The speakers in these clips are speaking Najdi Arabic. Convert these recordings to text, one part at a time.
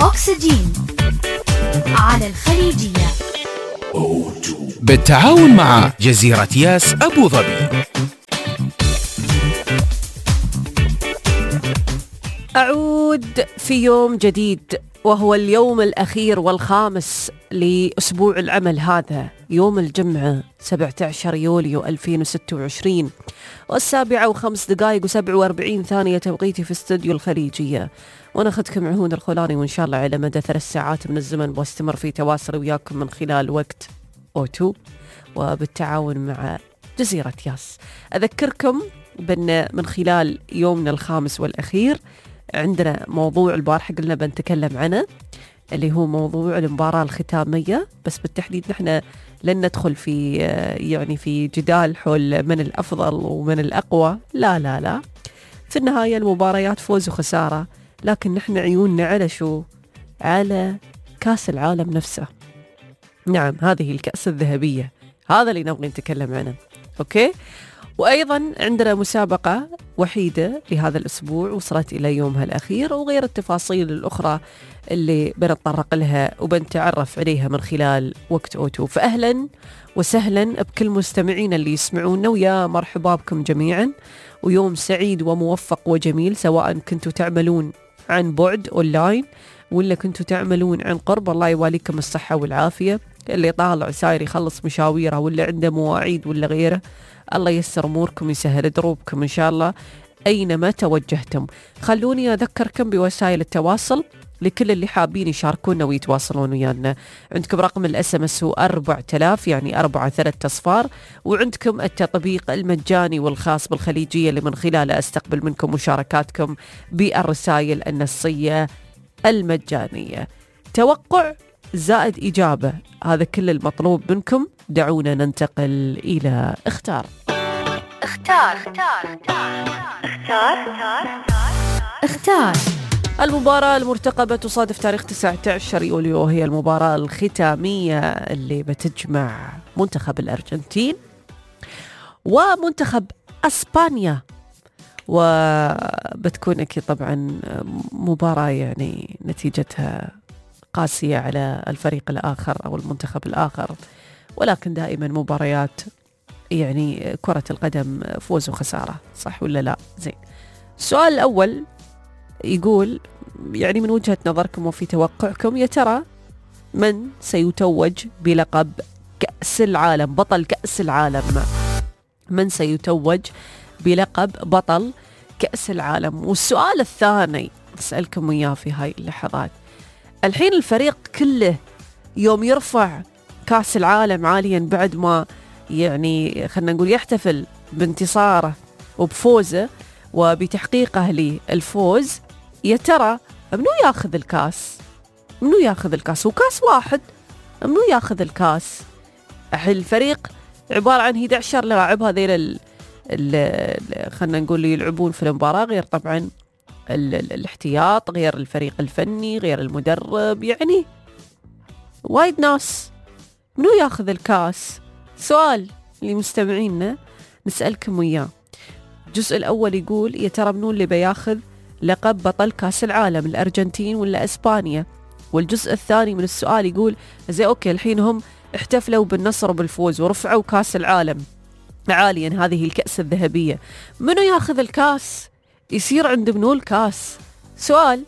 أكسجين على الخليجية بالتعاون مع جزيرة ياس أبو ظبي. أعود في يوم جديد، وهو اليوم الأخير والخامس لأسبوع العمل هذا، يوم الجمعة 17 يوليو 2026 و7:05:47 توقيتي في استوديو الخليجية. وأنا أخذكم عهود الخولاني، وإن شاء الله على مدى 3 ساعات من الزمن واستمر في تواصل وياكم من خلال وقت أوتو وبالتعاون مع جزيرة ياس. أذكركم بأن من خلال يومنا الخامس والأخير عندنا موضوع البارحة قلنا بنتكلم عنه، اللي هو موضوع المباراة الختامية، بس بالتحديد نحن لن ندخل في جدال حول من الأفضل ومن الأقوى، لا في النهاية المباريات فوز وخسارة، لكن نحن عيوننا على شو؟ على كأس العالم نفسه. نعم، هذه الكأس الذهبية، هذا اللي نبغي نتكلم عنه. أوكي، وأيضا عندنا مسابقة وحيدة لهذا الأسبوع وصلت إلى يومها الأخير، وغير التفاصيل الأخرى اللي بنتطرق لها وبنتعرف عليها من خلال وقت أوتو. فأهلا وسهلا بكل مستمعين اللي يسمعونا، ويا مرحبا بكم جميعا، ويوم سعيد وموفق وجميل، سواء كنتوا تعملون عن بعد أونلاين ولا كنتوا تعملون عن قرب. الله يواليكم الصحة والعافية، اللي طالع ساير يخلص مشاويره ولا عنده مواعيد ولا غيره، الله ييسر أموركم، يسهل دروبكم إن شاء الله أينما توجهتم. خلوني أذكركم بوسائل التواصل لكل اللي حابين يشاركونا ويتواصلون ويانا. عندكم رقم الSMS هو 4000، يعني 4 3 أصفار، وعندكم التطبيق المجاني والخاص بالخليجية اللي من خلاله أستقبل منكم مشاركاتكم بالرسائل النصية المجانية. توقع زائد إجابة، هذا كل المطلوب منكم. دعونا ننتقل إلى اختار. المباراة المرتقبة تصادف تاريخ 19 يوليو، وهي المباراة الختامية اللي بتجمع منتخب الأرجنتين ومنتخب أسبانيا، وبتكون أكيد طبعا مباراة يعني نتيجتها قاسية على الفريق الآخر أو المنتخب الآخر، ولكن دائما مباريات يعني كرة القدم فوز وخسارة، صح ولا لا؟ زين. السؤال الأول يقول يعني من وجهة نظركم وفي توقعكم، يا ترى من سيتوج بلقب كأس العالم، بطل كأس العالم؟ من سيتوج بلقب بطل كأس العالم؟ والسؤال الثاني أسألكم إياه في هاي اللحظات، الحين الفريق كله يوم يرفع كأس العالم عاليا بعد ما يعني خلنا نقول يحتفل بانتصاره وبفوزه وبتحقيقه للفوز، يا ترى منو ياخذ الكاس؟ منو ياخذ الكاس؟ وكاس واحد، منو ياخذ الكاس؟ الفريق عبارة عن 11 لاعب، هذيل خلنا نقول يلعبون في المباراة، غير طبعا الاحتياط، غير الفريق الفني، غير المدرب، يعني وايد ناس. منو ياخذ الكاس؟ سؤال لمستمعينا نسألكم وياه. الجزء الأول يقول يا ترى منو اللي بياخذ لقب بطل كاس العالم، الأرجنتين ولا أسبانيا؟ والجزء الثاني من السؤال يقول زي أوكي الحين هم احتفلوا بالنصر وبالفوز ورفعوا كاس العالم عاليا، هذه الكأس الذهبية، منو ياخذ الكاس؟ يصير عند منو الكاس؟ سؤال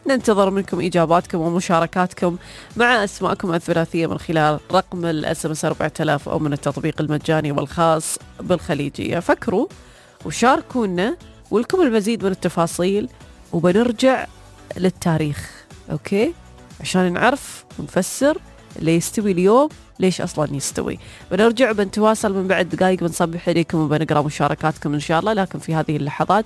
ننتظر منكم إجاباتكم ومشاركاتكم مع أسماءكم الثلاثية من خلال رقم الSMS 4000 أو من التطبيق المجاني والخاص بالخليجية. فكروا وشاركونا ولكم المزيد من التفاصيل، وبنرجع للتاريخ أوكي عشان نعرف ونفسر اللي يستوي اليوم ليش أصلا يستوي. بنرجع بنتواصل من بعد دقائق، بنصبح عليكم وبنقرأ مشاركاتكم إن شاء الله. لكن في هذه اللحظات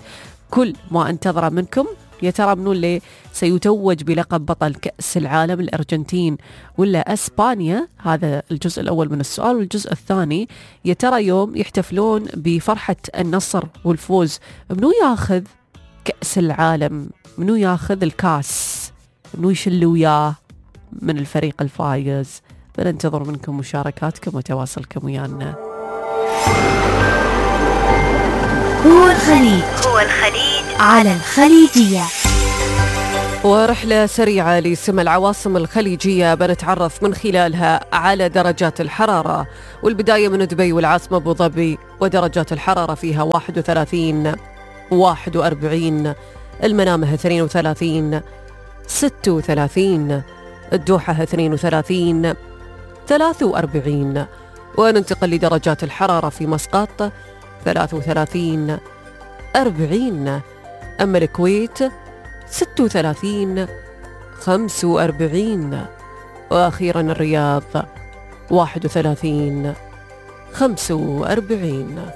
كل ما انتظر منكم، يا ترى منو اللي سيتوج بلقب بطل كأس العالم، الأرجنتين ولا أسبانيا؟ هذا الجزء الأول من السؤال. والجزء الثاني، يا ترى يوم يحتفلون بفرحة النصر والفوز، منو ياخذ كأس العالم؟ منو ياخذ الكاس؟ منو يشل وياه من الفريق الفايز؟ بننتظر منكم مشاركاتكم وتواصلكم ويانا. هو الخليج على الخليجية. ورحلة سريعة لسمى العواصم الخليجية بنتعرف من خلالها على درجات الحرارة، والبداية من دبي والعاصمة أبو ظبي، ودرجات الحرارة فيها 31 41، المنامة 32 36، الدوحة 32 43، وننتقل لدرجات الحرارة في مسقط 33 40، أما الكويت 36 45، وأخيرا الرياض 31 45.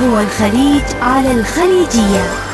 هو الخليج على الخليجية.